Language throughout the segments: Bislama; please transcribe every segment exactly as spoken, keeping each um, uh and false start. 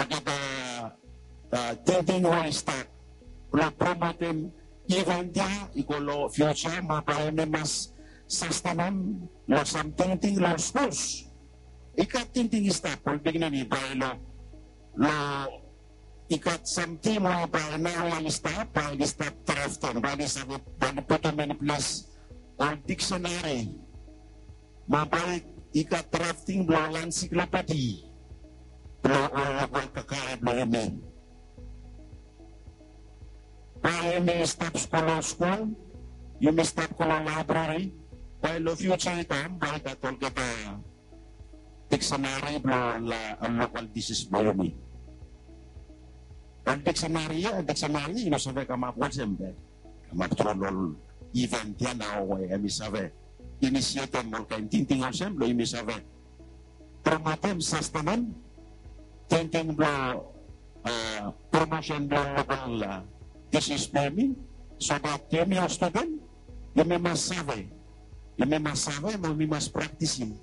olgeta tingting we i stap blong promotem event ya i go long fiuja, mo bae yumi mas sastenem long sam tingting long skuls. I gat tingting i stap, ol pikinini bae long, long i gat sam tim we bae nao ya i stap, bae i stap draftem, bae i save, bae i putum inples ol diksenari, mo bae i gat drafting blong ol ensiklopedi blong ol lokal kakae blong yumi. Bae yumi stap skul long skul, yumi stap go long laebrari, bae long fiuja i kam bae i gat olgeta diksenari blong ol lokal disis blong yumi. Ol diksenari ya, diksenari ya i no save kamap olsem be kamap tru long ol event ya nao we hemi save inisietem ol kaen tingting olsem blong yumi save promotem, sastenem tingting blong promosen blong lokal disis blong yumi, so dat yumi ol studen yumi mas save, yumi mas save mo yumi mas praktisim.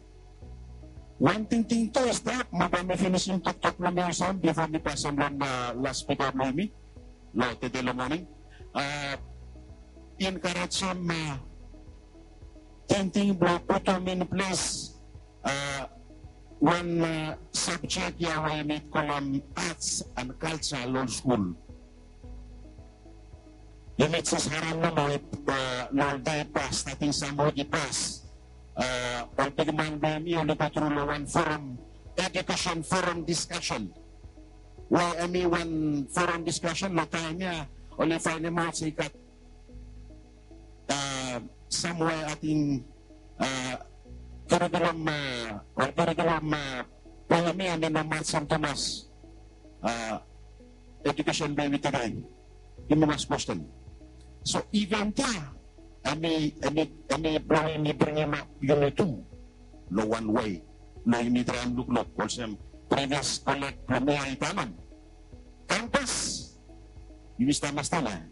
Wan tingting tu i stap, mo bae mi finisim toktok blong mi olsem bifo mi pasem long las spika blong yumi long tede long moning. Enkarejem tingting blong putum inples wan sabjek ya we yumi kolem arts and culture long skul. Yumi jes harem nomo long ol dei i pas, stating sam wik i pas, ol bigman blong yumi oli go tru long wan forum, edukesen forum diskasen, we hemi wan forum diskasen long taem ya oli faenemaot se i gat samwe ating kurikulum, ol kurikulum blong yumi hemi no matsem tumas edukesen blong yumi tude. Yumi mas kwesten. So event ya hemi, hemi, hemi blong yumi bringim ap yumi tu long wan wei blong yumi traem lukluk olsem previous koleg blong mi ya i talem. Kampas, yumi stap mas talem.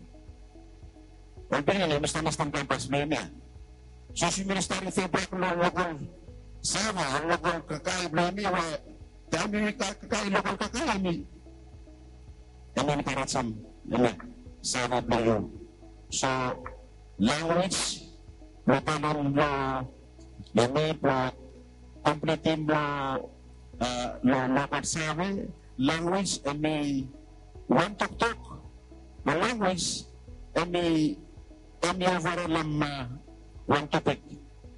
Ol pikinini, yumi stap mas talem kampas blong yumi ya. Sapos yumi no stap rifea bak long lokal save, ol lokal kakae blong yumi we taem yumi kakae lokal kakae, yumi, yumi enkarejem, yumi save blong yu. So lanwis, blong talem long yumi blong komplitim long lokal save, lanwis hemi wan toktok, mo lanwis hemi, hemi ovarol long wan topik.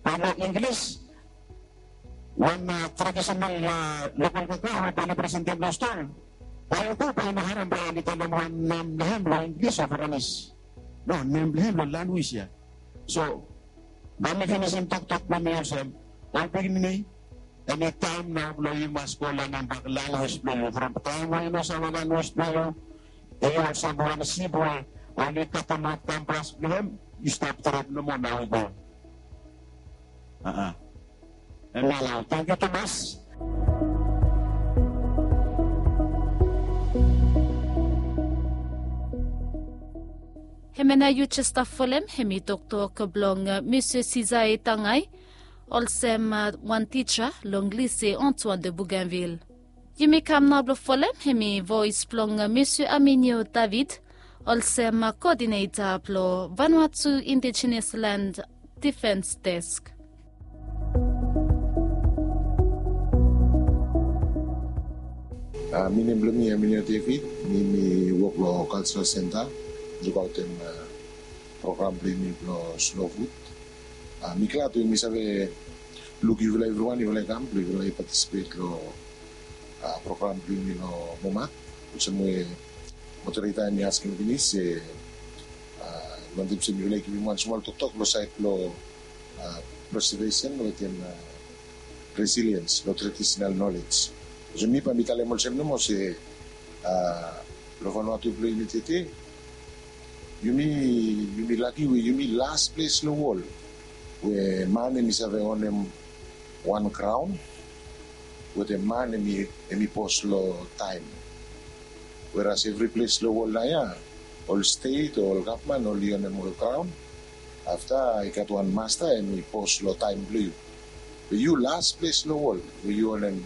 Bae long Inglis wan tradisenal lokal kakae bae oli presentem long stol. Bae yu go bae yu no harem bae oli talem wan nem blong hem long Inglis o Varanese. No, nem blong hem long lanwis ya. So bae mi finisim toktok blong mi olsem, ol pikinini, hemi taem nao blong yu mas go lanem bak lanwis blong yu. From taem we yu no save lanwis blong yu, yu olsem wan sip we oli katemaot kampas blong hem, yu stap drop nomo nao i go. Hemia nao, tangkiu tumas. Hemia nao yu jes stap folem hemi toktok blong Mister Sisae Tangai olsem wan tija long Lycée Antoine de Bougainville. Yumi kam nao blong folem hemi voes blong Mister Aminio David olsem koodineta blong Vanuatu Indigenous Land Defence Desk. Mi nem blong mi Aminio David, mi mi wok long Cultural Centre, lukaotem program blong yumi blong Slow Food. Mi glad we mi save luk yufala evriwan, yufala i kam blong yufala i patisipet long program blong yumi long Momat. Olsem we moderator hemi askem finis se mi wantem se mifala i givim wan smol toktok long saed blong preservation wetem resilience long traditional knowledge. Olsem mi bae mi talem olsem nomo se long Vanuatu blong yumi tede, yumi, yumi laki we yumi las ples long wol we man hemi save onem wan graon wetem man hemi, hemi pos long taem. Weras evri ples long wol naoia ol stet o ol gavman oli onem ol graon. Afta i gat wan masta hemi pos long taem blong yu. Be yu las ples long wol we yu onem